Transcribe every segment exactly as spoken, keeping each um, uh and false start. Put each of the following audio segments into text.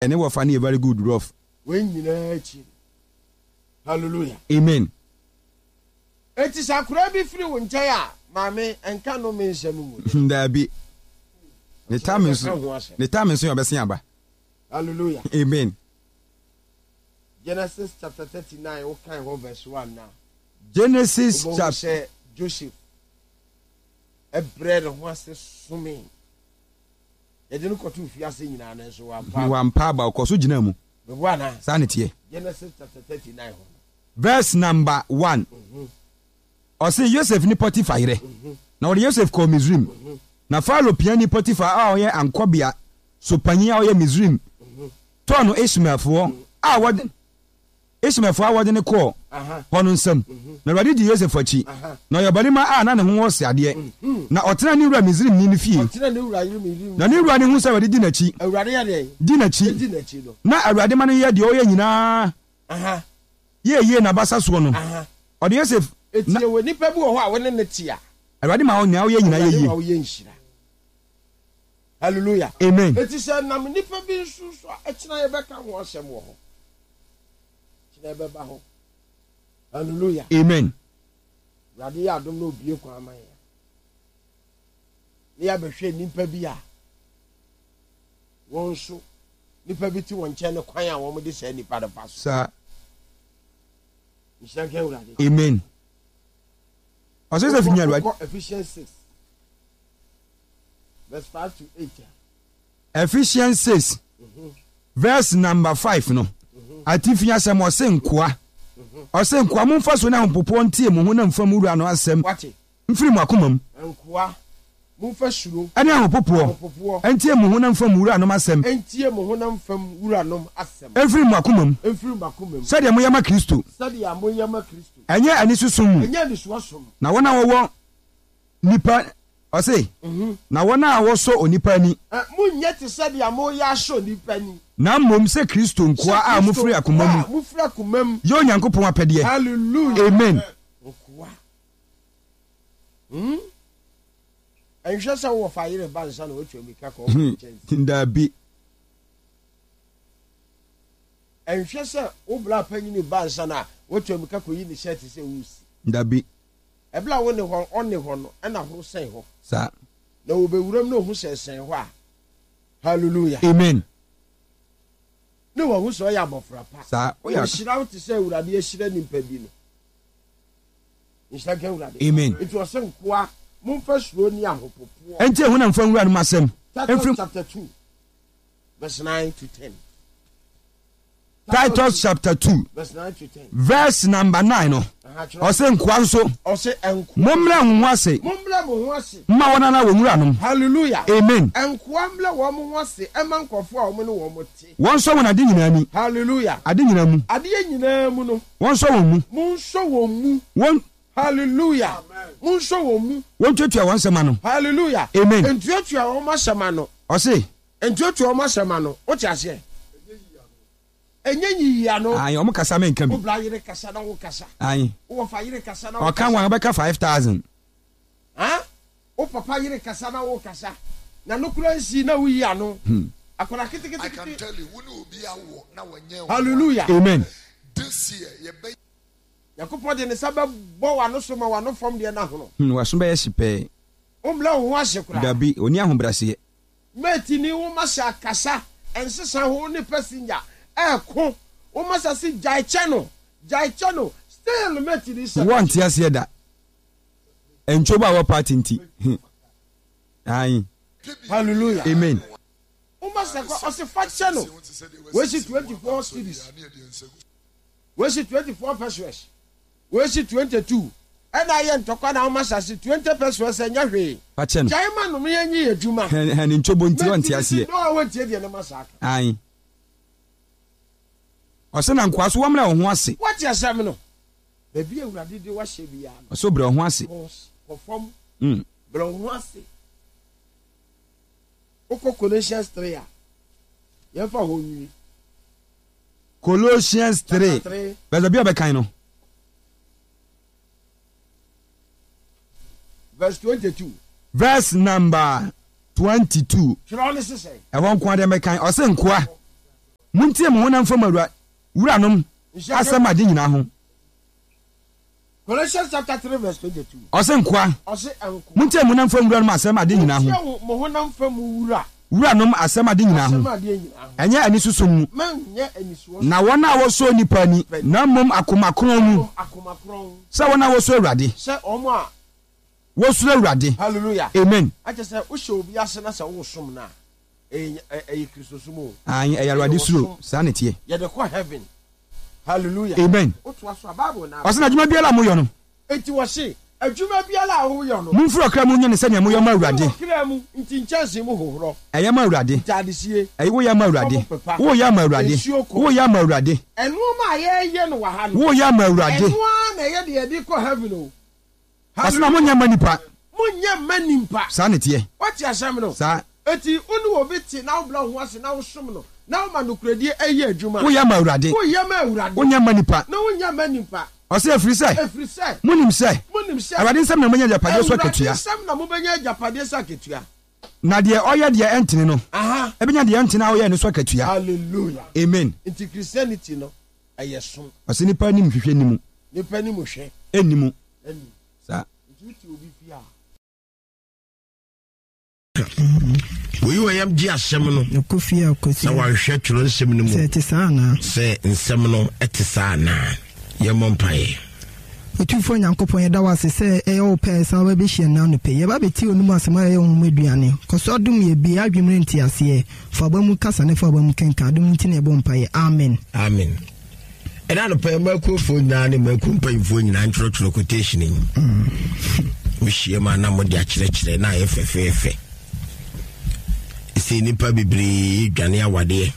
Ɛne wɔfa no yɛ very good rough. Wei nyinaa akyi, hallelujah. Amen. Eti sɛ akwadaa bi firi wo nkyɛn a, maame, nka no me nsɛm mu. Daabi, ne tam nso ne tam nso yɛ ɔbɛsen aba. Hallelujah. Amen. Genesis chapter thirty nine, wokan hɔ verse one na Genesis wobɛhu chapter sɛ Joseph ɛbrɛ ne ho ase some yɛde no kɔto fiase nyinaa no nso wampa. Wampa aba, ɔkɔ so gyina mu. Meboa na Saa ne teɛ. Genesis chapter thirty nine hɔ no. Verse number one, ɔse Yosef ne Potifa yerɛ, na wɔde Yosef kɔɔ Misrim. Na Farao piani Potifa a ɔyɛ ankɔbea so panyin a ɔyɛ Misrim tɔɔ no Ismaelfoɔ a wɔde Ismaelfoɔ a wɔde no kɔɔ Aha. hɔ no nsam. Na Awurade di Yosef akyi, na ɔyɛ ɔbarima a na ne ho wɔ seadeɛ, na ɔtena ne wura Misrimni no fie. Ɔtena ne wura yere Misrim. Na ne wura no hu sɛ Awurade di n'akyi. Awurade yɛ deɛ? Di n'akyi. Di n'akyi no. Na Awurade ma no yɛ deɛ ɔyɛ nyinaa Aha. yɛ yie n'abasa soɔ no, Aha. ɔde Yosef Eti na wɔ nipa bi wɔ hɔ a wɔne ne te a, Awurade ma nea ɔyɛ nyinaa yɛ Awurade yie. ma woyɛ nhyira. Hallelujah. Amen. Eti sɛ nam nipa bi nso so a, ɛkyina yɛbɛka ho asɛm wɔ hɔ, kyina yɛbɛba hɔ. Hallelujah. Amen. Awurade yɛ adom na obie kwan ama yɛn ne yɛabɛhwɛ nipa bi a wɔn nso nipa bi te wɔn nkyɛn ne kwan a wɔn de saa nipa no fa so. Saa. Nhyira nka Awurade. Amen. Ɔsɛ Yosef nya Awurade. Wokɔ Ephesians six verse five to eight. Ephesians six verse number five no, atifi asɛm, ɔse nkoa ɔse nkoa momfa so ne ahopopoɔ ntie mo ho na mfa mu wura no asɛm Wate? mfiri mo akoma mu. Nkoa, momfa suro ɛne ahopopoɔ ahopopoɔ ntie mo ho na mfa mu wuranom asɛm ntie mo honam fam wuranom asɛm mfiri mo akoma mu mfiri mo akoma mu sɛdeɛ moyɛ ma Kristo, sɛdeɛ moyɛ ma Kristo, ɛnyɛ ani soso mu. Ɛnyɛ anisoɔ som. Na wɔn a wɔwɔ nipa, ɔse na wɔn a wɔsɔ onipa ani, Ɛ, monyɛ te sɛdeɛ moyɛ asɔ nipa ni, na mmom sɛ Kristo nkoa a mofiri akoma mu a mofiri akoma mu yɛ Onyankopɔn apɛdeɛ. Hallelujah. Amen. Nkoa, hmm? Ɛnhwɛ sɛ wowɔ fa yere ba nsa na woatwa mirika kɔ wo nkyɛn. Daabi. Ɛnhwɛ sɛ wo bra panyini ba nsa na woatwa mirika kɔyi ne hyɛ te sɛ wosi. Dabi. Ɛberɛ a wo ne hɔ, ɔne hɔ no, ɛna horo sɛn hɔ saa na wɔbɛwuram na ɔhu sɛ sɛn hɔ a, hallelujah. Amen. Ne wahu sɛ ɔyɛ abɔfra pa. Saa, woyɛ. Ɔhyira wo te sɛ Awurade ahyira nipa bi no. Nhyira nka Awurade. Amen. Nti ɔsɛ nkoa, momfa suro ne ahopopoɔ ɛnti ɛho na mfa nwura no mu asɛm Titus mfiri chapter two verse nine to ten. Titus chapter two verse nine to ten. Verse number nine no, Aha, kyerɛ. Ɔsɛ nkoa nso, Ɔsɛ nkoa, mommrɛ mo ho ase mommrɛ mo ho ase mma wɔn ara wɔn wuranom. Hallelujah. Amen. Nkoa mmrɛ wɔn ho ase ɛma nkurɔfoɔ a wɔn ne wɔn te. Wɔnsɔ wɔn ade nyinaa ni. Hallelujah. Ade nyinaa mu. Adeɛ nyinaa mu no. Wɔnsɔ wɔn mu. Monsɔ wɔn mu. Wɔn Hallelujah, monsɔ wɔn mu. Wɔntuatua wɔn nsɛm ano. Hallelujah. Amen. Ntuatua wɔn asɛm ano. Ɔse Ntuatua wɔn asɛm ano, wote aseɛ? Ɛnyɛ nyiyi ano. Ayi, ɔmo kasa menka bi. Wo bra yere kasa na wo kasa. Ayi. Wo wɔfa yere kasa na wo Ɔka kasa. wɔn bɛka five thousand. Ha, wo papa yere kasa na wo kasa na no kura nsi na woyi ano akwadaa I can ketekete. tell you, wo ne obi awo na wɔnyɛ wo. Hallelujah. Amen. This year, yɛbɛ Nyankopɔn de ne nsa bɛbɔ w'ano so ma w'ano fam deɛ n'ahono. hmm, waso bɛyɛ hye pɛɛ. Wombrɛ wo ho ase koraa. Dabi, oni ahobrɛaseɛ. Mɛtini wo masa kasa ɛnsesa ho ne passenger ɛɛko wo masa si gyae kyɛ no, gyae kyɛ no, still mɛtini sɛ Wɔnte aseɛ da. Ntwobo a wɔ party nti. Hmm. Ayi. Hallelujah. Amen. Wo masa kɔ, ɔse fa kyɛ no. Wɔsi twenty four cedis, wɔsi twenty four pesewas, wɔsi twenty two, ɛna ayɛ ntɔkwa na wo masa si twenty pesewas ɛnyɛ hwee. Fa kyɛ no. Gyae ma nom yɛn nyi yɛ adwuma. Hɛn hɛn ntwobo nti ɔnte Mɛtini si aseɛ. no a wɔntie deɛ ne masa aka. Ayi, ɔsɛ na nkoa so wɔmmrɛ wo ho ase. Wɔte asɛm no, baabi a Awurade de wahyɛ biara no, Ɔsɛ brɛ wo ho ase. kɔ kɔ fam, Mm. brɛ wo ho ase. Wokɔ Colossians three a, yɛmfa hɔ nwie. Colossians three. Chapter three. Bɛsɛ bi a ɔbɛkan no. Verse twenty-two. Verse number twenty-two. Twerɛ ne sesɛ. Ɛhɔ nko adeɛ mɛkan. Ɔsɛ nkoa Montie mo honam fam awura wuranom asɛm ade nyinaa ho. Colossians chapter three verse twenty-two. Ɔse nkoa. Ɔse nkoa. Montie mo honam fam wuranom asɛm ade nyinaa ho. Montie mo honam fam wura. Wuranom asɛm ade nyinaa ho. Asɛm adeɛ nyinaa ho. Ɛnyɛ anisosom mu. Mɛnyɛ anisoɔ. Na wɔn a wɔsɔ onipa ani, na mmom akoma kronn mu. Mmom akoma kronn. Sɛ wɔn a wɔsɔ Awurade. Sɛ wɔn a. Wɔsuro Awurade. Hallelujah. Amen. Akyɛ sɛ wohyɛ obi ase na sɛ wosom no a, ɛyɛ ɛyɛ Kristosom o. Aane, ɛyɛ Awurade suro. Saa na ɛteɛ. Yɛde kɔ heaven. Hallelujah. Amen. Wotoa so a, Bible na. Ɔse na adwuma biara a moyɔ no. Enti wɔse, adwuma biara a woyɔ no. Momfiri ɔkra mu nyɛ no sɛnea moyɔ ma Awurade. Momfiri ɔkra mu, nti nkyɛnsee mu hohorɔ. Ɛyɛ ma Awurade. Ntaadesie. Ɛyɛ woyɛ ama Awurade. Fam pepa. Woyɛ ama Awurade. Nsuo kɔ. Woyɛ ama Awurade. Nnoɔma a yɛyɛ no wɔ ha no. Woyɛ ama Awurade. Ɛno ara na ɛyɛ deɛ yɛde kɔ heaven o. Ɔse na monyɛ mma nipa. Monyɛ mma nimpa. Saa na ɛteɛ. Woate asɛm no? Saa. Enti wo ne obi te na wobrɛ wo ho ase na wosom no na woma nokorɛdie yɛ adwuma. Woyɛ ma Awurade. Woyɛ ma Awurade. Wonyɛ mma nipa. Na wonyɛ mma nipa. Ɔse ɛfiri sɛ. Ɛfiri sɛ. Monim sɛ. Monim sɛ. Awurade nsam na mobɛnya agyapadeɛ so akatua. Awurade nsam na mobɛnya agyapadeɛ so akatua. Na deɛ ɔyɛ deɛ ɛntene no. Aha. Ɛbɛnya deɛ ɛntene a ɔyɛɛ no so akatua. Hallelujah. Amen. Nti Christianity no ɛyɛ som. Ɔse nipa anim hwehwɛ nni mu. Nipa anim hwɛ. Ɛnni mu. Ɛnni mu. Saa. Nti wote obi fie a. Oyi wɔ yam gye asɛm no na wanhwɛ twerɛ nsɛm no mu sɛ ɛte saa anaa. Sɛ nsɛm no ɛte saa anaa. Yɛmmɔ mpaeɛ. Otumfoɔ Nyankopɔn, yɛda wo ase sɛ ɛyɛ wo pɛ sɛ wobɛbɛhyia nnɛ anɔpa yi. Yɛba abɛtie w'anom asɛm a ɛyɛ honhom aduane. Kɔ so adom yɛn, bue yɛn adwene mu ne nteaseɛ. Fa w'aba mu kasa ne fa w'aba mu kenkan. Adom nti na yɛbɔ mpaeɛ. Amen. Amen. Ɛna anɔpa yi mmakuofoɔ nyinaa ne mmakuo mpanyinfoɔ nyinaa ntwerɛtwerɛ quotation yi. Wohyia mu a na mode akyerɛkyerɛ na ayɛ fɛfɛɛfɛ. Ɛsɛ nnipa bebree dwane awadeɛ.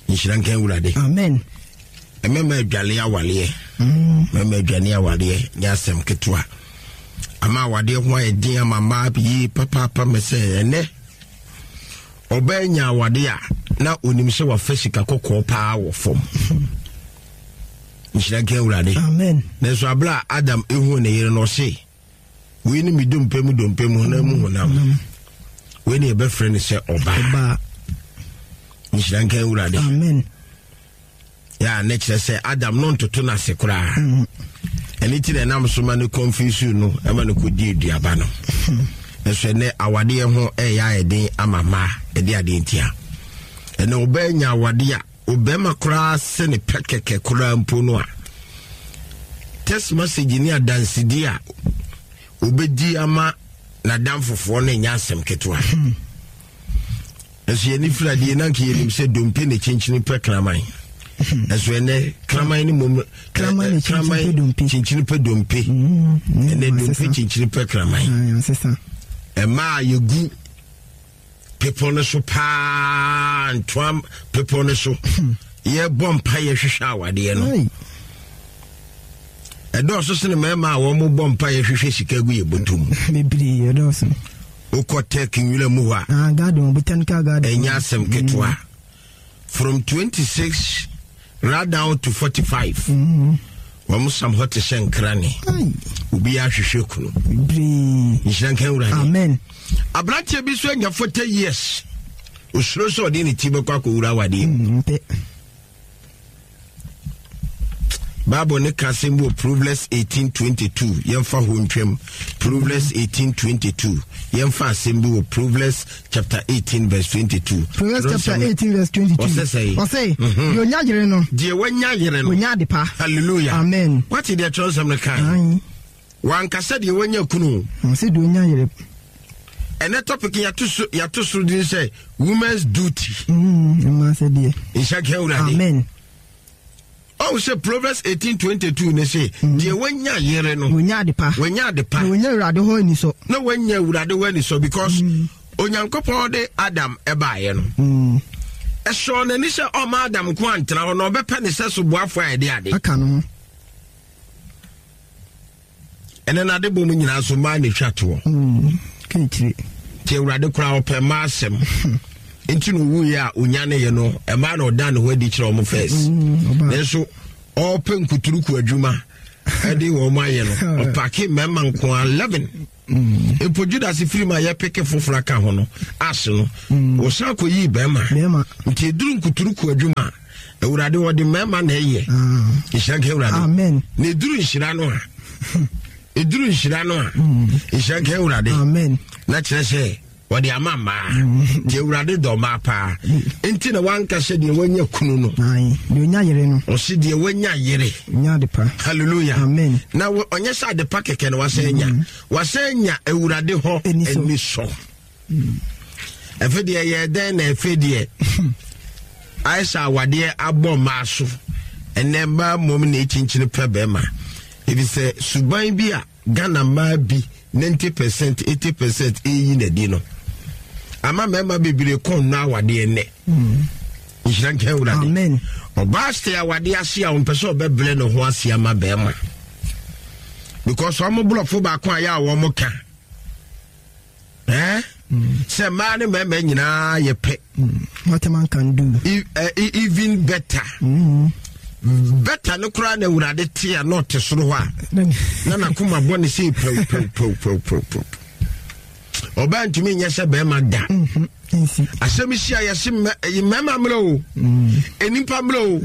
Nhyira nka Awurade. Amen. Mmarima adwale awareɛ. Mmarima adwane awareɛ nyɛ asɛm ketewa. Ama awadeɛ ho ayɛ den ama mmaa yie papaapa mɛ sɛ ɛnɛ ɔbaa nya awadeɛ a na onim sɛ wafa sika kɔkɔɔ paa wɔ fam. Nhyira nka Awurade. Amen. Nanso abere a Adam ehu ne yere no ɔse wei ne me dompe mu dompe mu honam mu honam. Wei ne yɛbɛfrɛ no sɛ ɔbaa. Nhyira nka Awurade. Amen. Yɛ a ne kyerɛ sɛ Adam no ntoto no ase koraa. Ɛne ti na ɛnam so ma no confuse no ɛma no kɔdi aduaba no. Ɛso ɛnɛ awadeɛ ho ɛyɛ ayɛ den ama mmaa ɛde adeɛ ntia. Ɛnɛ ɔbaa nya awadeɛ a ɔbɛrima koraa sɛ ne pɛ kɛkɛ koraa mpo no a text message ne adansedie a ɔbɛdi ama n'adamfofoɔ no ɛnyɛ asɛm ketewa. Ɛso yɛne firadeɛ na nka yɛnim sɛ dompe ne kyenkyene pɛ kraman. Ɛso ɛnɛ kraman ne mmom kraman kyenkyene pɛ dompe. Ɛnɛ dompe kyenkyene pɛ kraman. Ɛmaa yɛgu pepɔ no so paa, ntoa pepɔ no so. Yɛbɔ mpa yɛhwehwɛ awadeɛ no. Ɛdɔɔso sene mmarima a wɔn bɔ mpa yɛhwehwɛ sika gu yɛ bɔtɔ mu. Bebree ɛdɔɔso. Wokɔ tech nwura mu hɔ a. Ah, garden, botanical garden. Ɛnyɛ asɛm ketewa. From twenty six right down to forty five. Wɔn sam hɔ te sɛ nkrane. Obi ahwehwɛ kunu. Bebree. Nhyira nka Awurade. Amen. Aberanteɛ bi nso anya forty years. Osuro sɛ ɔde ne ti bɛkɔ akɔwura awadeɛ mu. Mpɛ. Bible ne ka asɛm bi wɔ Proverbs eighteen twenty two. Yɛmfa hɔ ntwam. Proverbs eighteen twenty two. Yɛmfa asɛm bi wɔ Proverbs chapter eighteen verse twenty two. Proverbs chapter eighteen verse twenty two. Ɔsɛ sɛ. Ɔsɛ. Deɛ onya yere no. Deɛ wanya yere no. Onya ade pa. Hallelujah. Amen. Wate deɛ kyerɛwsɛm no kan. Wankasa deɛ wanya kunu. Ɔsɛ deɛ onya yere. Ɛnɛ topic yɛato so yɛato so din sɛ women's duty. Mmaa sɛ deɛ. Nhyɛ nka Awurade. Amen. Ɔwɔ sɛ Proverbs eighteen twenty two ne se deɛ wanya yere no. Wanya ade pa. Wanya ade pa. Na wanya Awurade hɔ anisɔ. Na wanya Awurade hɔ anisɔ because mm. Onyankopɔn de Adam ɛbaeɛ no. Mm. Ɛsɔɔ n'ani sɛ ɔma Adam nko antena hɔ na ɔbɛpɛ ne sɛ so boafo a ɛde ade. Aka no ho. Ɛnɛ n'ade bɔ mu nyinaa so mmaa na etwa toɔ. Kekyire. Nti Awurade koraa ɔpɛ mmaa asɛm. Nti na owuiɛ a onyaneeɛ no ɛmaa na ɔda ne ho adi kyerɛ ɔmo first. Mm, Nanso ɔpɛ nkuturuku adwuma Ɛde wɔn ayɛ no, ɔpaake mmarima nko a eleven. Mpo Judas firi mu a yɛpeke foforɔ aka ho no ase no, wɔsan kɔyii bɛrima. Nti ɛduru nkuturuku adwuma a, Awurade wɔde mmarima na ɛyɛ. Nhyira nka Awurade. Amen. Na ɛduru nhyira no a, ɛduru nhyira no a, nhyira nka Awurade. Amen. Na kyerɛ sɛ wɔde ama mmaa. Nti Awurade dɔ mmaa paa. Nti na wanka sɛ deɛ wanya kunu no. Aye. Deɛ onya yere no. Ɔse deɛ wanya yere. Onya adepa. Hallelujah. Amen. Na ɔnyɛ sɛ adepa kɛkɛ na wasan anya. Wasan anya Awurade hɔ ani sɔ. Ɛfɛ deɛ yɛ dɛn na ɛfɛ deɛ ayɛ sɛ awadeɛ abɔ mmaa so. Ɛnɛ mmaa mmom na ɛkyinkyini pɛ bɛrima. Ebi sɛ suban bi a Ghana mmaa bi ninety percent eighty percent eyi na di no. Ama mmarima bebree kɔn nnɔ awadeɛ nnɛ. Nhyira nka Awurade. Amen. Ɔbaa sɛ awadeɛ ase a ɔmpɛ sɛ ɔbɛbrɛ ne ho ase ama bɛrima. Because ɔmo borɔfo baako a yɛ a wɔn ka. Eh? Sɛ mmaa ne mmarima nyinaa yɛ pɛ. What a man can do. E, uh, even better. Mm. Better no koraa na Awurade te a na ɔte soro hɔ a na n'akoma bɔ ne sɛ pɛw pɛw pɛw pɛw pɛw pɛw. Ɔbaa ntumi nyɛ sɛ bɛrima da. Asɛm si a yɛse mmarima mmerɛ o, nnipa mmerɛ o,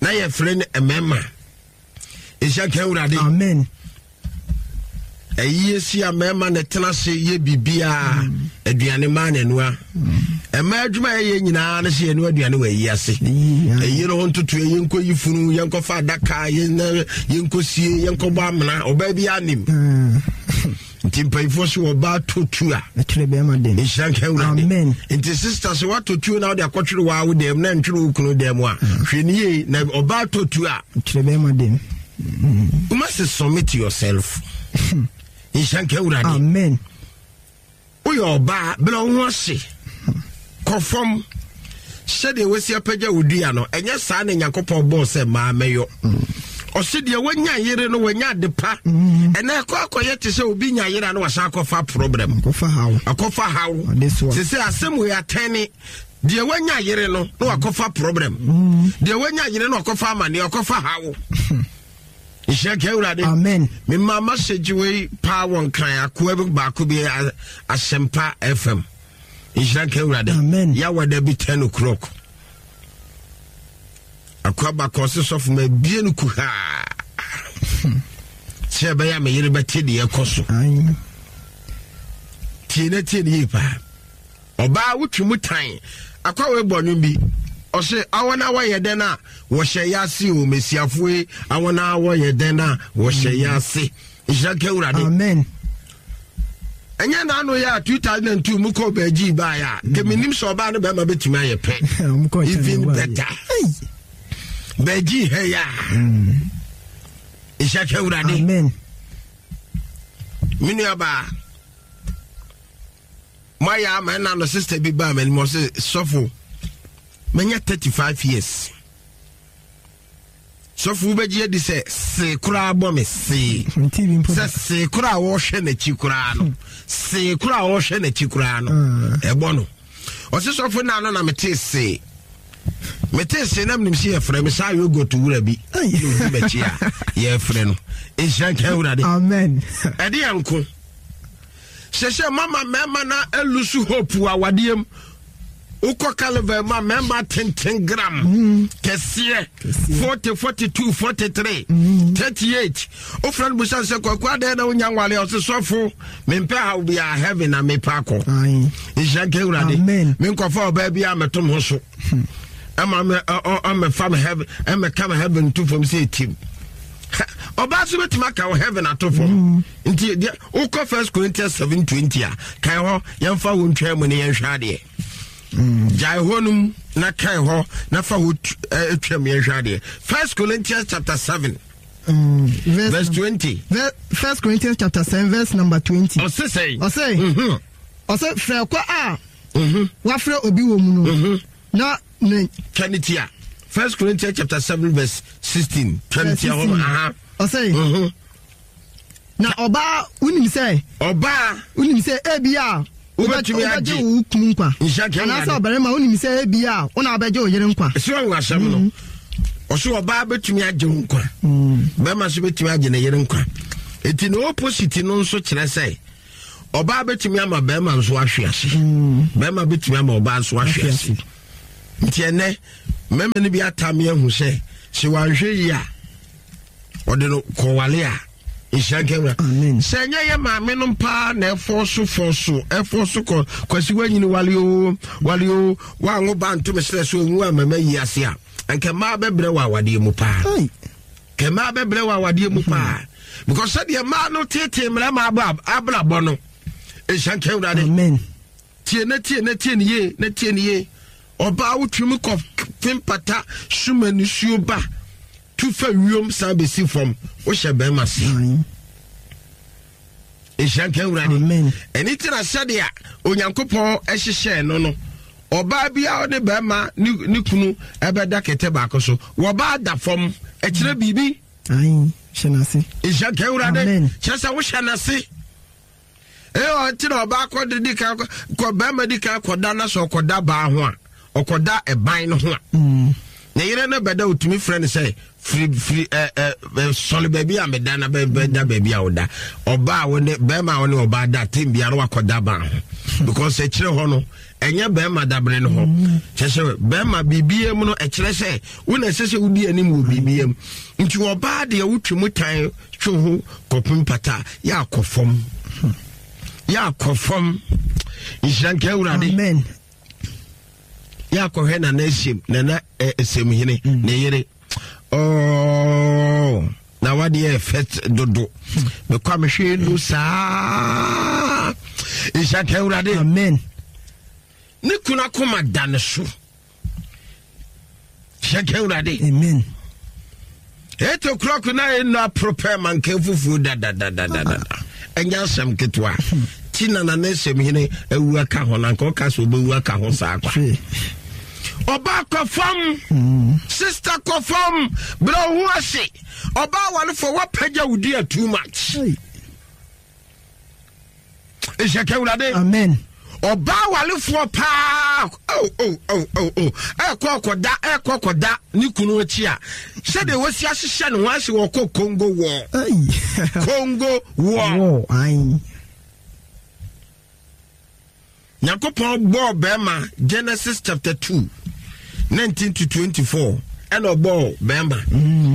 na yɛfrɛ no mmarima. Nhyɛ nka Awurade. Amen. Ɛyie si a mmarima na tena ase yɛ biribiara, aduane maa n'anua. Mmaa adwuma yɛyɛ nyinaa ne sɛ yɛnoa aduane wɔ ayi ase. Ɛyi no ho ntoto, yɛnkɔ yi funu, yɛnkɔfa adaka, yɛnkɔ sie, yɛnkɔbɔ amena, ɔbaa bi anim. Nti mpanyinfoɔ so ɔbaa to tu a. Ɛtwerɛ bɛrima dɛm. Nhyira nka Awurade. Amen. Nti sista sɛ woatɔ tuo na wode akɔtwere waa wo dɛm na ntwere wo kunu dɛm a, hwɛ ne yie na ɔbaa tɔ tuo a. Ɛtwerɛ bɛrima dɛm. You must submit yourself. Nhyira nka Awurade. Amen. Woyɛ ɔbaa bɛlɛ wo ho ase kɔ fam sɛdeɛ wasi apagya wo dua no, ɛnyɛ saa na Nyankopɔn bɔɔ sɛ maa mɛyɔ. Ɔse deɛ wanya yere no wanya ade pa. Ɛnɛ ɛkɔ akɔyɛ te sɛ obi nya yere a na wasan akɔfa problem. Akɔfa haw. Akɔfa haw. Adesoa. Sɛ sɛ asɛm wei atɛne deɛ wanya yere no na wakɔfa problem. Deɛ wanya yere no wakɔfa amaneɛ, wakɔfa haw. Nhyira nka Awurade. Amen. Mema message wei paa wɔ Nkran akoa bi baako bi Asɛmpa F M. Nhyira nka Awurade. Amen. Yawada bi ten o'clock. Akoa baako ɔse sɔfo ma ebie no kuhaa. Sɛ ɛbɛyɛ a me yere bɛte deɛ ɛkɔ so. Aye. Tie na tie ne yie paa. Ɔbaa wotwi mu tan. Akoa wei bɔ nnwom bi. Ɔse awɔ na wɔyɛ dɛn a wɔhyɛ yɛ ase o, mesiafoɔ yi, awɔ na wɔyɛ dɛn a wɔhyɛ yɛ ase. Nhyira nka Awurade. Amen. Ɛnyɛ n'ano yɛ a two thousand and two mu kɔ bɛgye baeɛ a, mm. Kɛmi sɛ ɔbaa ne bɛrima bɛtumi ayɛ pɛ. Even better. Bɛgye ha yɛ a. Nhyira nka Awurade. Amen. Me nua baa, moayɛ ama ɛna no sister bi baa m'anim ɔse sɔfo manya thirty-five years. Sɔfo wobɛgye adi sɛ see koraa bɔ me see. Sɛ see koraa wɔhwɛ n'akyi koraa no. See koraa wɔhwɛ n'akyi koraa no. Ɛbɔ no. Ɔse sɔfo na no na mete see. Mete see na menim sɛ yɛfrɛ me saa yogurt wura bi. Na odi m'akyi a yɛfrɛ no. Nhyira nka Awurade. Amen. Ɛde yɛ nko. Hyɛ sɛ mama mmarima na elusu hope wɔ awadeɛ mu. Wokɔ Calvary ma mmarima tenten gram kɛseɛ forty, forty-two, forty-three, thirty-eight. Wofrɛ no busa sɛ kwaku adɛn na wonya nwale? Ɔse sɔfo mempɛ haw biara, heaven na mepɛ akɔ. Nhyira nka Awurade. Amen. Menkɔfa ɔbaa bi a mɛto me ho so. Ɛma me, ɔ, ɔ, ɔmmɛfa me heaven, ɛmmɛka me heaven to fam sɛ ɛtim. Ɔbaa so bɛtumi aka wo heaven ato fam. Nti deɛ wokɔ First Corinthians seven twenty a, kae hɔ, yɛmfa wo ntwa mu ne yɛnhwɛ adeɛ. Gyae hɔ nom na kae hɔ na fa hɔ twam yɛnhwɛ adeɛ. First Corinthians chapter seven. Mm, verse, verse twenty. First Corinthians chapter seven verse number twenty. Ɔse sɛn? Ɔse. Ɔse frɛ kɔ a wafrɛ obi wɔ mu no. Na ne. Twɛne First Corinthians chapter seven verse sixteen. Twɛne tia hɔ. Aha. Ɔse. Na ɔbaa wonim sɛ. Ɔbaa. Wonim sɛ ebi a. Wobɛtumi agye wo kunu nkwa. Anaasɛ ɔbarima wonim sɛ ebi a wo na wobɛgye wo yere nkwa. Ɛsɛ wɔn asɛm no. Ɔso ɔbaa bɛtumi agye wo nkwa, bɛrima nso bɛtumi agye ne yere nkwa. Eti ne opposite no nso kyerɛ sɛ ɔbaa bɛtumi ama bɛrima nso ahwe ase, bɛrima bɛtumi ama ɔbaa nso ahwe ase. Nti ɛnɛ mmarima no bi atame ahu sɛ sɛ wanhwɛ yi a ɔde no kɔwale a nhyira nka wura. Sɛ ɛnyɛ yɛ maame no paa na ɛfɔ so fɔ so ɛfɔ so kɔ kwasi wanyini wale o wale o wango ba ntoma srɛ so onwu a mama yi ase a nka mmaa bɛbrɛ wɔ awadeɛ mu paa, nka mmaa bɛbrɛ wɔ awadeɛ mu paa, because sɛdeɛ mmaa no tete mmarima abrabɔ no nhyira nka wura de. Tie na tie na tie ne yie na tie ne yie. Ɔbaa wotwam kɔ pempata suma nisuo ba tu fa wiem san bɛsi fam wohyɛ bɛrima se. Nhyira nka Awurade. Ɛne ti na sɛdeɛ Onyankopɔn hyehyɛɛ no no, ɔbaa bi a ɔne bɛrima ne kunu ɛbɛda kɛtɛ baako so, wɔbaa da fam ɛkyerɛ biribi. Nhyira nka Awurade. Kyerɛ sɛ wohyɛ n'ase. Ɛyɛ ɔnti na ɔbaa kɔ de di kan kɔ bɛrima di kan kɔda na sɛ ɔkɔda baa ho a ɔkɔda ɛban no ho a ne yere no bɛda otumi frɛ no sɛ firi firi ɛ ɛ sɔre baabi a meda na bɛda baabi a ɔda. Ɔbaa wo ne bɛrima a wo ne ɔbaa da tem biara wakɔda baa ho because ɛkyerɛ hɔ no ɛnyɛ bɛrima dabere no hɔ. Kyerɛ sɛ bɛrima biribiara mu no ɛkyerɛ sɛ wo na ɛsɛ sɛ wodi anim wɔ biribiara mu. Nti ɔbaa deɛ wotwe mu tan twe ho kɔpem pata yɛ akɔ fam, yɛ akɔ fam. Nhyira nka Awurade. Amen. Yɛ akɔhwɛ Nana Esiem, Nana Esemhene ne yere. Oh, na wadeɛ ɛfɛ dodo. Mekɔ a mehwɛ nu saa. Nhyira nka Awurade. Amen. Ne kunu akoma da ne so. Nhyira nka Awurade. Amen. Eight o'clock na enu prepare manka fufu da da da da da da. Enya asɛm ketewa. Ti na na Esemhene awu aka ho na nka ɔka sɛ ɔbɛwu aka ho saa kwa. Ɔbaa kɔ fam, sister kɔ fam, brɛ wo ho ase. Ɔbaa warefo wapagya wo dua too much. Nhyɛ ka Awurade. Amen. Ɔbaa warefoɔ paa, oh, oh, oh, oh, oh. Ɛkɔ kɔda, ɛkɔ kɔda ne kunu akyi a sɛdeɛ wɔsi ahyehyɛ ne ho ase wɔkɔ Congo war. Congo war. Nyankopɔn bɔɔ bɛrima Genesis chapter two nineteen to twenty-four ɛna ɔbɔɔ bɛrima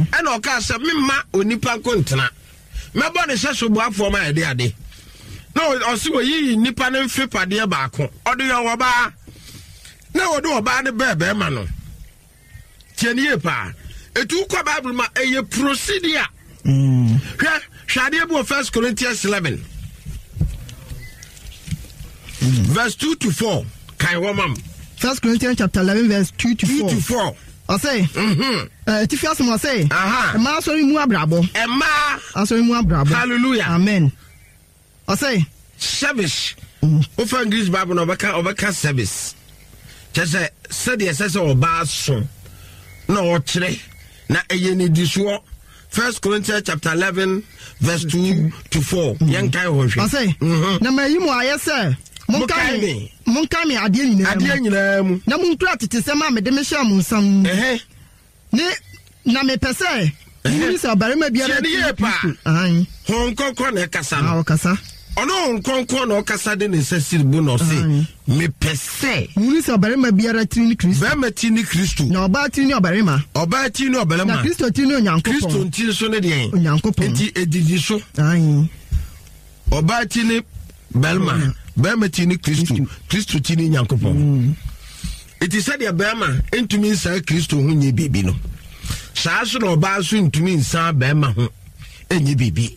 ɛna ɔkaa sɛ memma onipa nko ntena, mɛbɔ ne hyɛ so boafoɔ ma yɛde ade. Na ɔse wɔyiyi nnipa no mfe padeɛ baako ɔde yɛ ɔbaa na wɔde ɔbaa no bɛɛ bɛrima no. Tie ne yie paa. Etu kɔ Bible ma ɛyɛ procedure. Hwɛ hwɛ adeɛ bi wɔ First Corinthians eleven verse two to four. Kan hɔ mam. First Corinthians chapter eleven verse two to four. Two to four. Ɔsɛ. Etifi asɛm ɔsɛ. Mmaa asɔre mu abrabɔ. Mmaa asɔre mu abrabɔ. Hallelujah. Amen. Ɔsɛ. Service. Ofa English Bible na ɔbɛka ɔbɛka service. Kyerɛ sɛ sɛdeɛ ɛsɛ sɛ ɔbaa so na ɔkyerɛ na ɛyɛ ne di soɔ. First Corinthians chapter eleven verse two to four. Yɛn kan hɔ hwɛ. Ɔsɛ. Na ma yi mu ayɛ sɛ monkae me monkae me adeɛ nyinaa mu. Adeɛ nyinaa mu. Na monkura tete sɛm a mede mehyɛ mo nsa mu. Ne na mepɛ sɛ muhunu sɛ ɔbarima biara ti ne Kristo. Honhom Kronkron na ɛkasa no. Ɔkasa. Ɔno Honhom Kronkron na ɔkasa de ne nsa siri bu na ɔse mepɛ sɛ muhunu sɛ ɔbarima biara tiri ne Kristo. Barima tiri ne Kristo. Na ɔbaa tiri ne ɔbarima. Ɔbaa tiri ne ɔbarima. Na Kristo tiri ne Onyankopɔn. Kristo ntiri nso ne deɛn? Onyankopɔn. Nti edidi so. Ɔbaa tiri ne barima. Barima tiri ne Kristo. Kristo tiri ne Nyankopɔn. Eti sɛdeɛ barima ntumi nsan Kristo ho nye biribi no, saa so na ɔbaa nso ntumi nsan barima ho nye biribi.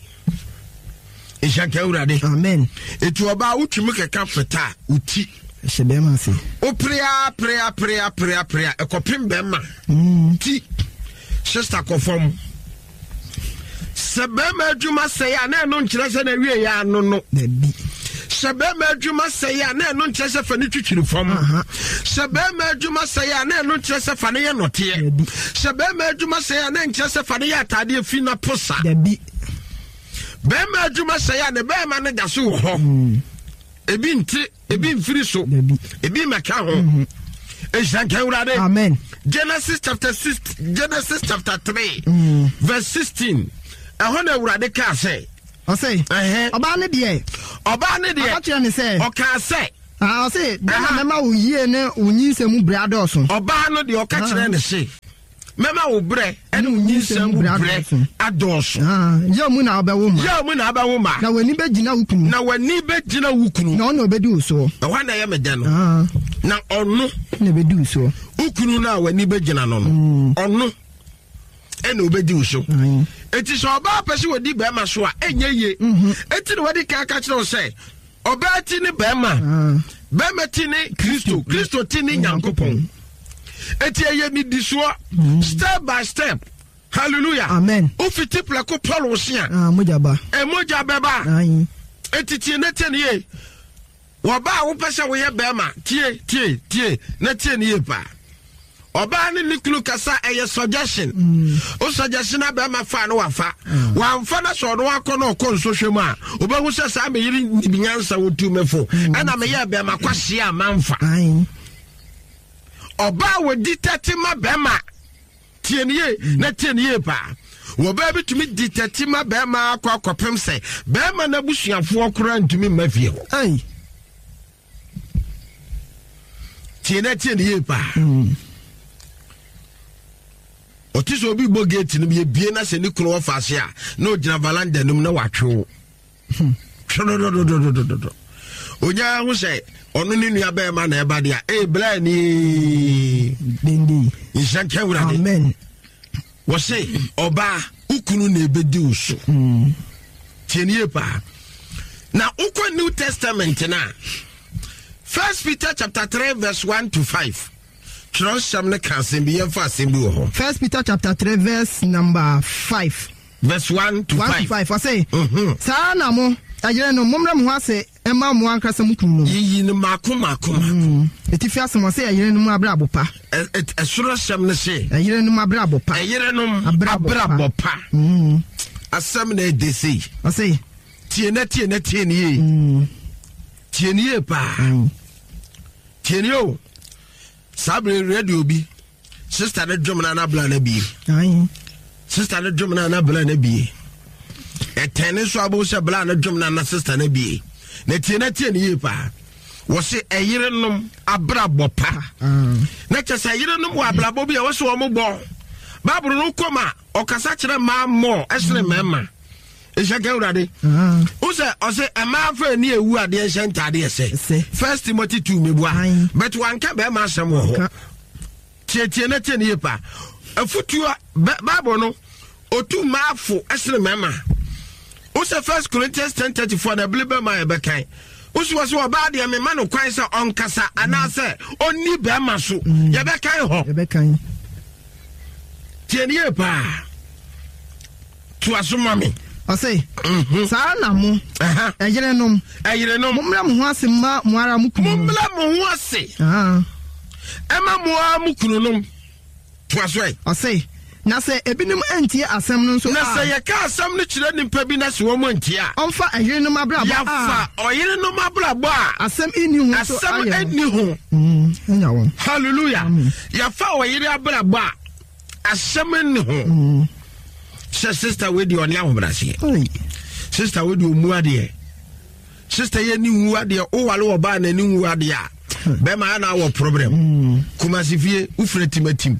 Nhyɛ nka Awurade. Amen. Eti ɔbaa wotumi kɛka feta a woti. Hyɛ bɛrima ase. Woperea perea perea perea perea ɛkɔpem bɛrima ti. Sista kɔ fam. Sɛ bɛrima adwuma sɛe a na ɛno nkyerɛ sɛ na awie yɛ ano no. Sɛ bɛrima adwuma sɛe a na ɛno nkyerɛ sɛ fa ne twitwiri fam. Sɛ bɛrima adwuma sɛe a na ɛno nkyerɛ sɛ fa ne yɛ nɔteɛ. Sɛ bɛrima adwuma sɛe a na nkyerɛ sɛ fa ne yɛ ataadeɛ fi na posa. Bɛrima adwuma sɛe a ne bɛrima no da so wɔ hɔ. Ebi nte, ebi mfiri so, ebi mmɛka ho. Nhyira nka Awurade. Amen. Genesis chapter six, Genesis chapter three, mm. verse sixteen. Ɛhɔ na Awurade kaa sɛ. Ɔsɛ. Ɔbaa ne deɛ. Ɔbaa ne deɛ. Ɔka kyerɛ ne sɛ. Ɔkaa sɛ. Ah, ɔse dɛn na mɛma wo yie ne wo nyinsɛn mu berɛ adɔɔso. Ɔbaa no deɛ ɔka kyerɛ ne se, mɛma wo berɛ ne wo nyinsɛn mu berɛ adɔɔso. Ah, yaw mu na wobɛwo mma. Yaw mu na wobɛwo mma. Na w'ani bɛgyina wo kunu. Na w'ani bɛgyina wo kunu. Na ɔno na ɔbɛdi wo soɔ. Ɛhɔ na ɛyɛ me dɛ no. Ah. Na ɔno. Na ɛbɛdi wo soɔ. Wo kunu no a w'ani bɛgyina no no. Mm. Ɔno ɛna ɔbɛdi wo so. Eti sɛ ɔbaa pɛ sɛ wɔdi bɛrima so a ɛnyɛ yie. Mm-hmm. Eti na wɔde kan ka kyerɛ wo sɛ ɔbaa ti ne bɛrima. Ah. Bɛrima ti ne Kristo. Kristo ti ne Nyankopɔn. Eti ɛyɛ nidisoɔ mm. step by step. Hallelujah. Amen. Wofiti prɛko Paul wosia. Ah, mogya ba. Mogya bɛba. Eti tie ne tie ne yie. Wɔbaa wopɛ sɛ woyɛ bɛrima tie tie tie na tie ne yie paa. Ɔbaa ne ne kunu kasa ɛyɛ suggestion. Mm. O suggestion na bɛrima fa no wafa. Mm. Wamfa na sɛ ɔno akɔ na ɔkɔ nsɔhwɛ mu a wobɛhu sɛ saa meyere nim nyansa wotu me fo. Mm. Ɛna meyɛ bɛrima kwahyia a mamfa. Ɔbaa wɔdi tɛte ma bɛrima tie ne yie Mm. na tie ne yie paa. Wɔbaa bi tumi di tɛte ma bɛrima akɔ akɔpem sɛ bɛrima n'abusuafoɔ koraa ntumi mma fie hɔ. Tie na tie ne yie paa. Mm. Ɔte sɛ obi bɔ gate no yɛbie na sɛ ne kunu wɔfa ase a na ɔgyina valanda no mu na watwe wo twɛdɔdɔdɔdɔdɔdɔ onyaa ho sɛ ɔno ne nua bɛrima na ɛba deɛ a ee bla ni nhyɛ nka Awurade. Amen. Wɔse ɔbaa wo kunu na ɛbɛdi wo so. Tie ne yie paa. Na wokɔ New Testament no a First Peter chapter three verse one to five. Twerɛsɛm no ka asɛm bi, yɛmfa asɛm bi wɔ hɔ. First Peter chapter three verse number five. Verse one to one five. to five. Ɔse, saa na mo ɛyere no mommrɛ mo ho ase ɛma mo ankasa mo kunu no. Yiyi no mako mako mako. Etifi asɛm ɔse ɛyere no mu abrabɔ pa. Ɛsoro asɛm no se. Ɛyere no mu abrabɔ pa. Ɛyere no abrabɔ pa. Asɛm na ɛde sei. Ɔse. Tie na tie na tie ne yie. Tie ne yie paa. Tie ne o. Saa bere radio bi sister ne dwom na anabla na bie. Sister ne dwom na anabla na bie. Ɛtɛn ne nso abo sɛ bla ne dwom na na sister na bie. Na tie na tie ne yie paa. Wɔse ɛyerenom abrabɔ pa. Na kyɛ sɛ ɛyerenom wɔ abrabɔ bi a wɔse wɔn bɔ. Bible no kɔm a ɔkasa kyerɛ mmaa mmɔ ɛsene mmarima. Nhyɛ ka Awurade. Wo sɛ ɔse mmaa fa ani ewu adeɛ nhyɛ ntaadeɛ sɛ. First Timothy two mebua. But wanka bɛrima asɛm wɔ hɔ. Tietie na tie ne yie paa. Afutuo Bible no otu mmaa fo ɛsene mmarima. Wo sɛ First Corinthians ten thirty four na ebile bɛrima yɛ bɛkan. Wo sɛ wɔsɛ ɔbaa deɛ mema no kwan sɛ ɔnkasa anaasɛ ɔnni bɛrima so. Yɛbɛkan hɔ. Yɛbɛkan. Tie ne yie paa. To aso ma me. Ɔse, saa na mo ɛyerenom ɛyerenom mommrɛ mo ho ase ma mo ara mo kunu. Mommrɛ mo ho ase ɛma mo ara mo kununom. To aso ɛ. Ɔse, na sɛ ebinom antie asɛm no nso a. Na sɛ yɛka asɛm no kyerɛ nnipa bi na sɛ wɔn antie a. Ɔmfa ɛyerenom abrabɔ a. Yɛfa ɔyerenom abrabɔ a. Asɛm nni ho so Asɛm ayɛ. nni ho. Ɛnya wɔn. Hallelujah. Yɛfa ɔyere abrabɔ a asɛm nni ho. Sɛ sister wei deɛ ɔne ahobrɛaseɛ. Sister wei deɛ ɔmu adeɛ. Sister yɛ ni nwu adeɛ wowale wɔ baa n'ani nwu adeɛ a bɛrima ayɛ na awɔ problem. Kumasi fie wofiri timatim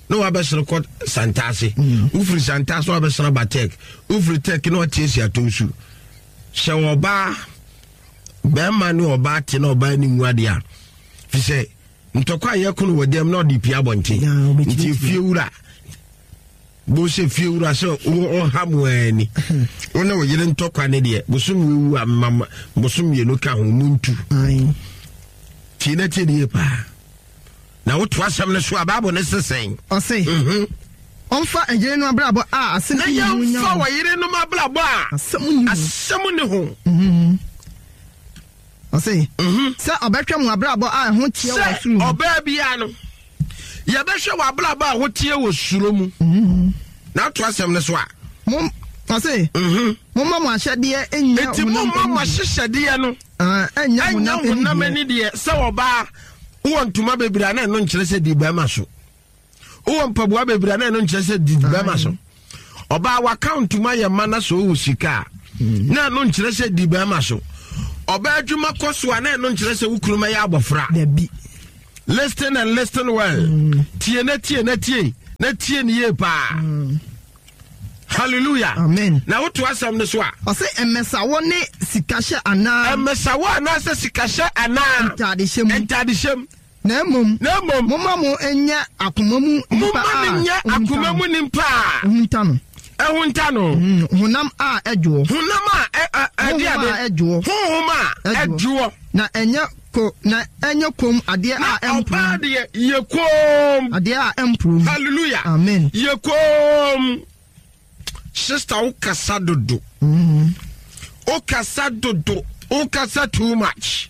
na wabɛsere kɔ Santase. Wofiri Santase na wabɛsere aba Tech. Wofiri Tech na watiesie ato nsu. Sɛ ɔbaa bɛrima ne ɔbaa te na ɔbaa ni nwu adeɛ a fi sɛ ntɔkwa a yɛko no wɔ dɛm na ɔde pia abɔnten. Nti fie wura bo sɛ fie wura sɛ ɔha mu ani wo ne wo yere ntɔkwa ne deɛ bosom wewu a mama bosom mmienu ka ho mu ntu. Tie na tie ne yie paa. Na woto asɛm no so a Bible ne sesɛn. Ɔse ɔmfa ɛyere no abrabɔ a asɛm Na nni ho nya yɛmfa wɔn. wɔyere nom abrabɔ a asɛm nni ho. Ɔse sɛ ɔbɛhwɛ mo abrabɔ a ɛho teɛ wɔ Sɛ soro mu. ɔbaa biara no yɛbɛhwɛ wɔ abrabɔ a ɛho teɛ wɔ suro mu. Na ato asɛm no so a. Mo ɔse momma mo ahyɛdeɛ nnya Enti honam momma mo ani deɛ. ahyehyɛdeɛ no Ah, ɛnnya ɛnnya honam honam ani ani deɛ sɛ ɔbaa Wowɔ ntoma bebree a na ɛno nkyerɛ sɛ di bɛrima so. Wowɔ mpaboa bebree a na ɛno nkyerɛ sɛ di bɛrima so. Ɔbaa waka ntoma yɛ ma na sɛ ɔwɔ sika a na ɛno nkyerɛ sɛ di bɛrima so. Ɔbaa adwuma kɔ so a na ɛno nkyerɛ sɛ wo kunu mɛyɛ abɔfra. Dabi. Listen and listen well. Mm. Tie na tie na tie na tie ne yie paa. Mm. Hallelujah. Amen. Na woto asɛm no so a. Ɔsɛ mmɛsawɔ ne sikahyɛ anaa. Mmɛsawɔ anaasɛ sikahyɛ anaa. Ntadehyɛ mu. Ntadehyɛ mu. Na mmom. Na mmom. Momma mo nyɛ akoma mu nipa a. Momma no nyɛ akoma mu nipa a. Ohunta no. Ehunta no. Mm, honam a ɛdwoɔ. Honam a ɛde ade. Honhom a ɛdwoɔ. Honhom a ɛdwoɔ. Na ɛnyɛ ko na ɛnyɛ kom adeɛ a ɛmporo. Na ɔbaa deɛ yɛ koom. Adeɛ a ɛmporo. Hallelujah. Amen. Yɛ koom. Sister, wo kasa dodo. Mm. Wo kasa dodo. Wo kasa too much.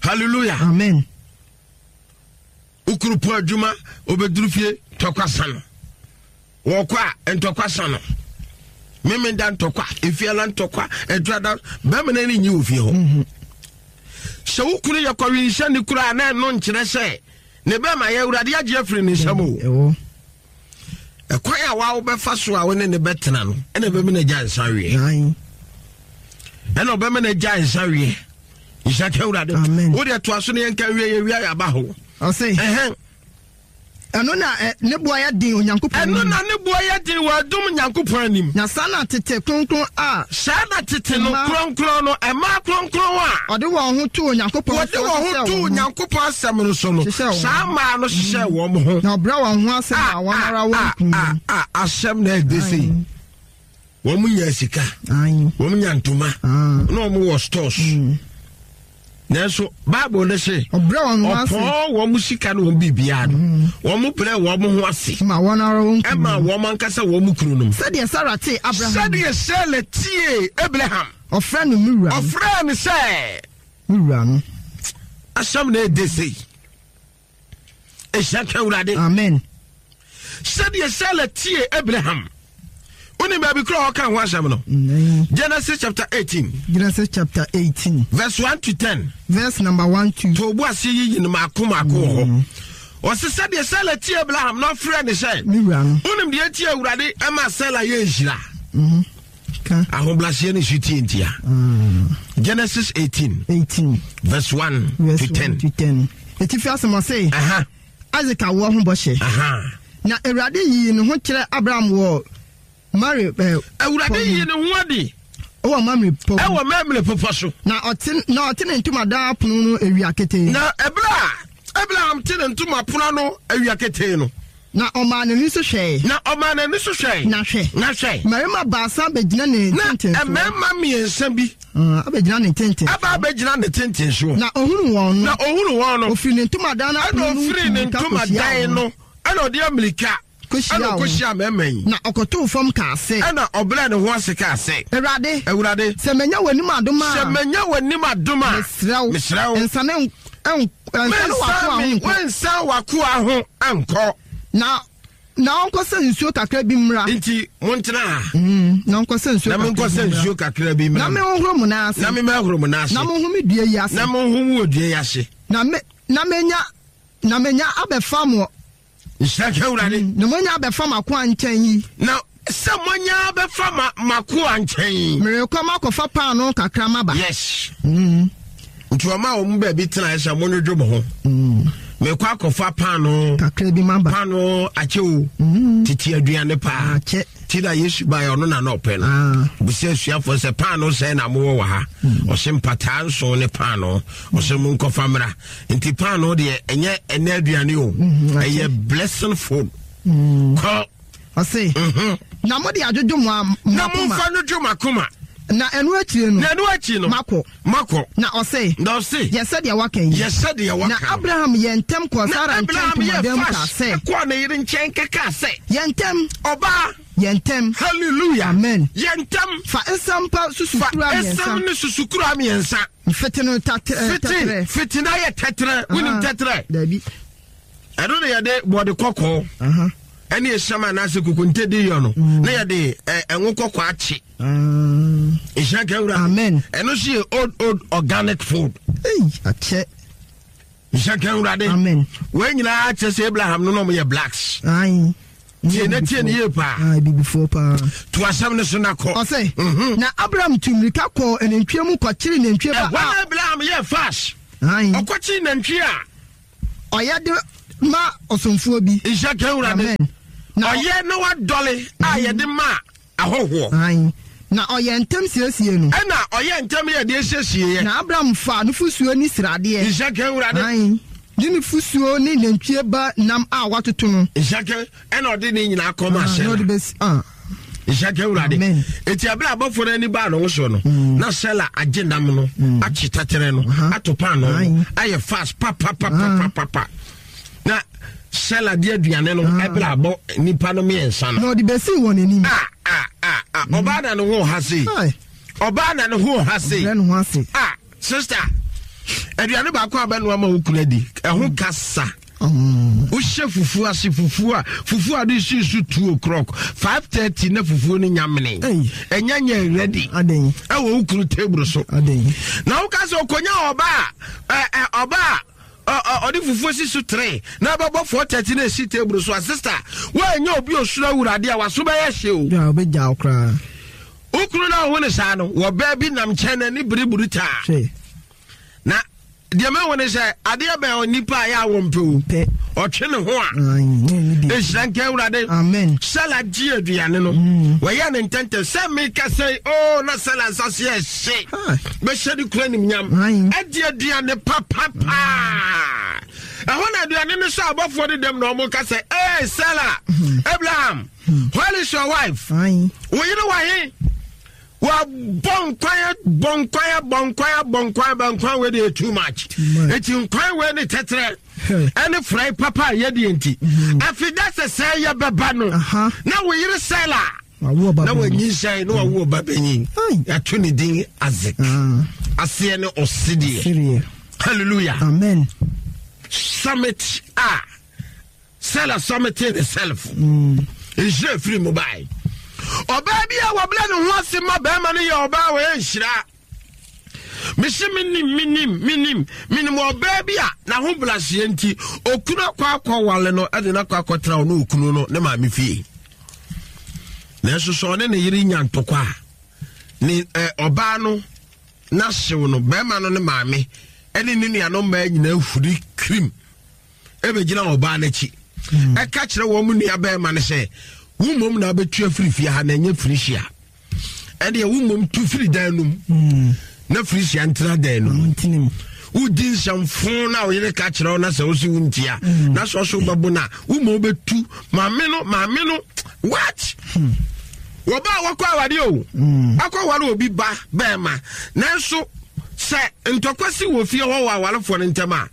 Hallelujah. Amen. Wokuru po adwuma obɛduru fie ntɔkwa sa no. Wɔkɔ a ntɔkwa sa no. Memenda ntɔkwa, efiala ntɔkwa, ɛduada bɛrima no ani nyi wɔ fie hɔ. Mm-hmm. Sɛ wo kunu yɛ kɔwenhyɛ ne kura a na ɛno nkyerɛ sɛ ne bɛrima yɛ Awurade agye afiri ne nsam o. Ɛkwan a wa wobɛfa so a wo ne ne bɛtena no ɛna ɛbɛma no agya nsa weɛ. Ɛna ɔbɛma no agya nsa weɛ. Nhyira ka Awurade. Wo deɛ toa so ne yɛnka wie yɛ wia yɛaba hɔ. Ɔse. Ɛhɛn. Ɛno na ne boa yɛ den Onyankopɔn anim. Ɛno na ne boa yɛ den wɔ adom Nyankopɔn anim. Na saa na tete kronkron a. Saa na tete no kronkron no ɛmaa kronkron a. Ɔde wɔn ho too Onyankopɔn Wɔde wɔn ho too Onyankopɔn asɛm no so no. Saa mmaa no hyehyɛ wɔn ho. Na ɔbrɛ wɔn ho ase ma wɔn ara wɔn kunu. A asɛm na ɛde sei. Wɔn nya sika. Wɔn nya ntoma. Na wɔn wɔ stores. Nanso Bible ne se ɔpɔn wɔn sika ne wɔn biribiara no wɔn brɛ wɔn ho ase ma wɔn ara wɔn kunu ɛma wɔn ankasa wɔn kunu nom. Sɛdeɛ Sara tee Abraham. Sɛdeɛ Sara tie Abraham. Ɔfrɛ no me wura. Ɔfrɛ no sɛ. Me wura no. Asɛm na ɛde sei. Ehyia ka Awurade. Amen. Sɛdeɛ Sara tie Abraham. Woni baabi kura ɔka ho asɛm no. Genesis chapter eighteen. Genesis chapter eighteen. Verse one to ten. Verse number one to. To obu ase yiyi no maako maako wɔ hɔ. Ɔsi sɛdeɛ Sara tie Abraham na ɔfrɛ ne sɛ. Me wura no. Wonim deɛ tie Awurade ɛma Sara yɛ nhyira. Ahobrɛaseɛ ne su tie ntia. Genesis eighteen. Eighteen. Verse one Verse to ten. One to ten. Etifi asɛm ɔse. Isaac awoɔ ho bɔhyɛ. Na Awurade yii ne ho kyerɛ Abraham wɔ Mare. Awurade yii ne ho adi. Ɛwɔ Mamre pɔ. Ɛwɔ Mamre pɔpɔ so. Na ɔte na ɔte ne ntomadan apono no awia ketee. Na ɛberɛ a Abraham te ne ntoma pono ano awia ketee no. Na ɔmaa n'ani so hwɛe. Na ɔmaa n'ani so hwɛe. Na hwɛ. Na hwɛ. Mmarima baasa bɛgyina ne ntentensoɔ. Na mmarima mmiɛnsa bi. Abɛgyina ne ntentensoɔ. Aba abɛgyina ne ntentensoɔ. Na ohunu wɔn no. Na ohunu wɔn no. Ofiri ne ntomadan no apono no Ɛna ofiri ne ntomadan no. Ɛna ɔde amirika. Ɛna ɔkɔhyia mmarima yi. Na ɔkɔtoo fam kaa sɛ. Ɛna ɔbrɛɛ ne ho ase kaa sɛ. Awurade. Awurade. Sɛ manya w'anim adom a. Sɛ manya w'anim adom a. Mesrɛ wo. Mesrɛ wo. Nsane nsane w'akoa ho nkɔ. Mensan w'akoa ho nkɔ. Na na ɔnkɔsɛ nsuo kakra bi mmra. Nti montena ha. Mm, na ɔnkɔsɛ nsuo na menkɔsɛ nsuo kakra bi mmra. Na menhohoro mo nan ase. Na memmɛhoro mo nan ase. Na monhome dua yi ase. Na monhome wɔ dua yi ase. Na me na menya na menya abɛfa mo. Nhyira nka Awurade. Na moanya abɛfa m'akoa nkyɛn yi. Na sɛ moanya abɛfa ma m'akoa nkyɛn yi. Merekɔ makɔfa paanoo kakra maba. Yes. Mm. Nti ɔma wɔn baabi tena sɛ monwodwo mo ho. Mm. Mekɔ akɔfa paanoo. Kakra bi maba. Paanoo akyɛ o. Mm. Tete aduane paa. Akyɛ. Ti na Yesu baeɛ ɔno na na ɔpɛ no. Ah. Bisa asuafoɔ sɛ paanoo sɛn na mowɔ wɔ ha. Mm. Ɔse mpataa nson ne paanoo. Ɔse monkɔfa mmra. Nti paanoo deɛ ɛnyɛ ɛnɛ aduane o. Mm, Ɛyɛ blessing food. Mm. Kɔ. Ɔse. Mhm. Na mode adwodwo mo a- mo Na akoma. momfa no dwo m'akoma. Na ɛno akyire no. Na ɛno akyi no. Makɔ. Makɔ. Na ɔse. Na ɔse. Yɛ sɛdeɛ waka yi. Yɛ sɛdeɛ waka. Na Abraham yɛ ntɛm kɔɔ Na Sara nkyɛn Abraham yɛ ntomadan mu kaa fast sɛ. kɔɔ ne yere nkyɛn kɛkaa sɛ. Yɛ ntɛm. Ɔbaa. Yɛ ntɛm. Hallelujah. Amen. Yɛ ntɛm. Fa nsam pa susukura Fa mmiɛnsa. nsam ne susukura mmiɛnsa. Fete no tɛtrɛ. Fete fete na yɛ tɛtrɛ. Wonim tɛtrɛ. Dabi. Ɛno na yɛde bɔde kɔkɔɔ. Ɛne esiam anaasɛ kokonte de yɔ no. Mm. Na yɛde ɛngo kɔkɔɔ akye. Nhyira nka Awurade. Amen. Ɛno nso yɛ old old organic food. Ei, akyɛ. Nhyɛ nka Awurade. Amen. Wei nyinaa kyerɛ sɛ Abraham no na ɔmo yɛ blacks. Ayi. Tie na tie ne yie paa. Ayi bibifoɔ paa. To asɛm no so na kɔ. Ɔsɛ. Mhm. Na Abraham tu mmirika kɔɔ anantwie mu kɔkyere nantwie ba Ɛhɔ na Abraham yɛ fast. Ayi. Ɔkɔkyere nantwie a. Ɔyɛ de ma ɔsomfoɔ bi. Nhyɛ nka Awurade. Amen. Na ɔyɛ na wadɔle a yɛde ma ahɔhoɔ. Ayi. Na ɔyɛ ntɛm siesie no. Ɛna ɔyɛ ntɛm yɛ deɛ siesie yɛ. Na Abraham fa nufusuo ne sradeɛ. Nhyɛ nka Awurade. Ayi. Ne nufusuo ne nantwie ba nam a watoto no. Nhyɛ nka ɛna ɔde ne nyinaa kɔma Ah, ahyɛ na ɔde no. bɛsi ah. Nhyɛ nka Awurade. Amen. Eti abere abɔfo no ani baa ne ho so no, na Sela agye nam no, akye tɛtɛrɛ no, ato paano no, Aye. ayɛ fast papapapapapa. Na Sela de aduane no ɛbere abɔ nipa no mmiɛnsa no. Na ɔde bɛsi wɔn anim. Ah ah ah ah ɔbaa na ne ho ha sei. Aye. Ɔbaa na ne ho ha sei. Brɛ ne ho ase. Ah sister, aduane baako a bɛnoa ma wo kunu adi, ɛho kasa. Mm. Wohyɛ fufuo ase fufuo a fufuo a de si so two o'clock five thirty na fufuo no nyamene. Ei. Ɛnyɛ nyɛ ready. Aden. Ɛwɔ wo kunu table so. Aden. Na woka sɛ okonya ɔba a ɛ ɛ ɔba a ɔ- ɔ- ɔde fufuo si so three na ɛbɛbɔ four thirty na esi table so a sister woanyɛ obi osoro awurade a waso bɛyɛ hye o. Dwa ɔbɛgya wo koraa. Wo kunu na ɔho ne saa no wɔ baa bi nam nkyɛn na ne biribiri taa. Hwɛ. Na deɛ mɛwo ne sɛ adeɛ bɛn onipa a yɛ a wɔmpɛ o. Pɛ. Ɔtwe ne ho a. Ayi. Ne ne di. Nhyira nka Awurade. Amen. Sela gye aduane no. Wɔyɛ ne ntɛntɛm sɛ meka sɛ o na Sela nsa so yɛ hye. Hi. Bɛhyɛ ne kura nimnyam. Aye. Adi aduane papapaa. Ɛhɔ na aduane no sɛ abɔfoɔ de dɛm na ɔmo ka sɛ ee Sela, Abraham, where is your wife? Ayi. Wo yere wɔ he? Wabɔ nkwan bɔ nkwan bɔ nkwan bɔ nkwan bɔ nkwan wei deɛ too much. much. Eti nkwan wei ne tɛtrɛ Hey. ɛne frɛ papa a yɛdeɛ nti. Afei sɛ sɛ yɛbɛba no Aha. na wo yere Sela Wawo ɔba na bɛn. wanyinsɛn na wawo ɔba bɛnyin. Ai. Yɛato ne din Isaac. Ah. Aseɛ ne ɔsedeɛ. Sereɛ. Hallelujah. Amen. Summit a Sela summited herself. Nhyira firi mu bae. Ɔbaa bi a wɔbrɛ ne ho ase ma bɛrima no yɛ ɔbaa a wɔyɛ nhyira. Mese menim menim menim menim ɔbaa bi a n'ahobrɛaseɛ nti okunu akɔ akɔwale no ɛde no akɔ akɔtena ɔne okunu no ne maame fie. Nanso sɛ ɔne ne yere nya ntɔkwa a ne ɛ, ɔbaa no n'ahyew no bɛrima no ne maame ɛne ne nuanom mmaa nyinaa huri kirim ɛbɛgyina ɔbaa n'akyi ɛka kyerɛ wɔn mu nua bɛrima no sɛ wo mmom na wobɛtu afiri fie ha na ɛnyɛ firihyia ɛdeɛ wo mmom tu firi dan no mu na firihyia ntena dan no mu Ntinim. wodi nsɛmfo na wo yere ka kyerɛ wo na sɛ wo se wo ntia na sɛ ɔso wobɛbo no a wo ma wobɛtu maame no maame no what wɔba a wɔkɔ awade o akɔ aware obi ba bɛɛma nanso sɛ ntɔkwa si wɔ fie hɔ wɔ awarefoɔ no ntam a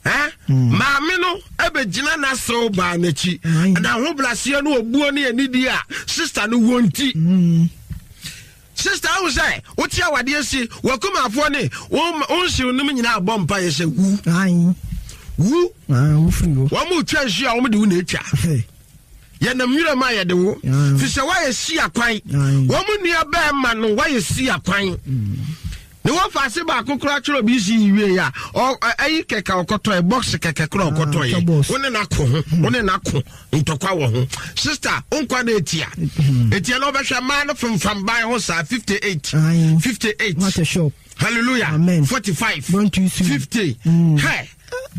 eh? Maame no ɛbɛgyina n'asew baa n'akyi Aye. na ahobrɛaseɛ no obuo ne anidie a sister no wɔ nti sister ahu sɛ wote awadeɛ si wakumafoɔ ne wo wo nsew nom nyinaa bɔ mpa yɛ sɛ wu Ayi. wu Ah, wofiri hɔ. wɔn mu twa nsuo a wɔn de wo na etwa Hey. yɛnam nwura mu a yɛde wo Mm. fi sɛ woayɛ si akwan Mm. wɔn mu nua bɛrima no woayɛ si akwan ne wɔfa ase baako koraa kyerɛ obi si yi wie a ɔ- ɛ- ɛyi kɛkɛ ɔkɔtɔɛ box kɛkɛ koraa ɔkɔtɔɛ tɔ box. wo ne n'ako ho wo ne n'ako ntɔkwa wɔ ho sister nkwa na etia etia na ɔbɛhwɛ mmaa no femfam ban ho saa fifty eight Aye. fifty eight What a shop. hallelujah Amen. forty five Don't you see? fifty Mm. hɛ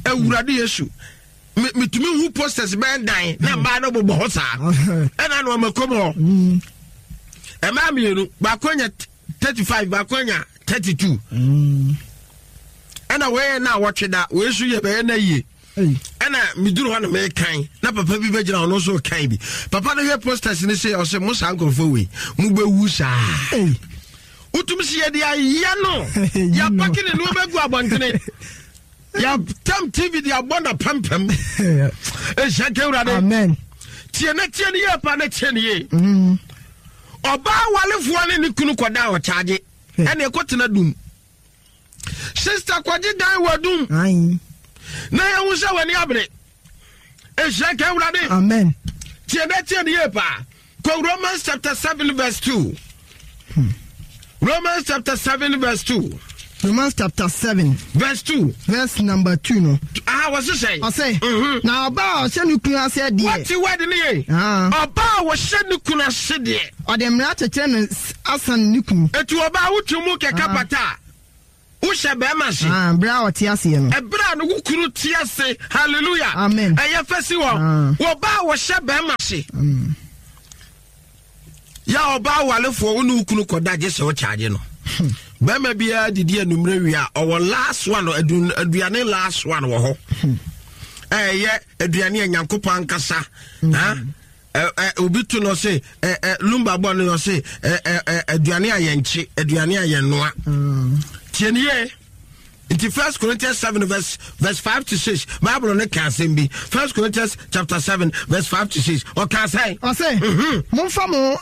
awurade yesu Me- metumi hu posters bɛn dan na mmaa no bobɔ hɔ saa ɛna na ɔma kɔm hɔ Mm. mmaa mmienu baako anya thirty five baako anya thirty two Mm. ɛna wɔyɛ na awɔtwe da wɔyɛ so yɛ bɛyɛ na yie Hey. ɛna meduru hɔ na mekan na papa bi bɛgyina ɔno nso kan bi papa no hwɛ posters no sɛ ɔsɛ mo saa nkurɔfoɔ wei mobɛwu saa Hey. wotum sɛ yɛde ayɛ no yɛapake ne nneɔma agu abɔntene yɛtam tv de abɔ na pampam ɛhyɛ nka awurade Amen. tie na tie ne yie pa na tie ne yie Mm. ɔbaa walefoɔ ne ne kunu kɔda a ɔkyagye ɛne ɛkɔtena dum sister kɔgye dan wɔ dum Ayi. na yɛhu sɛ w'ani abere ɛhyɛ nka awurade Amen. tie na tie ne yie paa kɔ romans chapter seven verse two romans chapter seven verse two Romans chapter seven. Verse two. Verse number two no. Aha, wɔse sɛn? Ɔse, mm-hmm. Na ɔbaa a ɔhyɛ ne kunu ase deɛ. Wɔte word ne yɛ. Ah. Ɔbaa a wɔhyɛ ne kunu ase deɛ. Ɔde mmara kyekyere no asan ne kunu. Eti ɔbaa wotu mu kɛkɛ Ah. pata a, wohyɛ bɛrima ase. Ah, berɛ a ɔte aseɛ no. Ɛberɛ a ne wo kunu te ase, hallelujah. Amen. Ɛyɛ fɛ si hɔ. Ah. Wɔbaa a wɔhyɛ bɛrima ase. Mm. Yɛ ɔbaa walefoɔ, wo ne wo kunu kɔda gye sɛ wokyagye no. Bɛrima biara didi anummerɛ wie a, ɔwɔ last one, adu-, aduane last one wɔ hɔ. Ɛyɛ aduane a Nyankopɔn ankasa. Mm. Ha? Ɛ, ɛ, obi to no se, ɛ, ɛ, lumba bɔ no se, ɛ, ɛ, ɛ, aduane a yɛnkye, aduane a yɛnnoa. Mm. Tie ne yie. Nti First Corinthians seven verse, verse five to six, Bible ne ka asɛm bi. First Corinthians chapter seven verse five to six. Ɔka sɛn? Ɔse, Mhm. momfa mo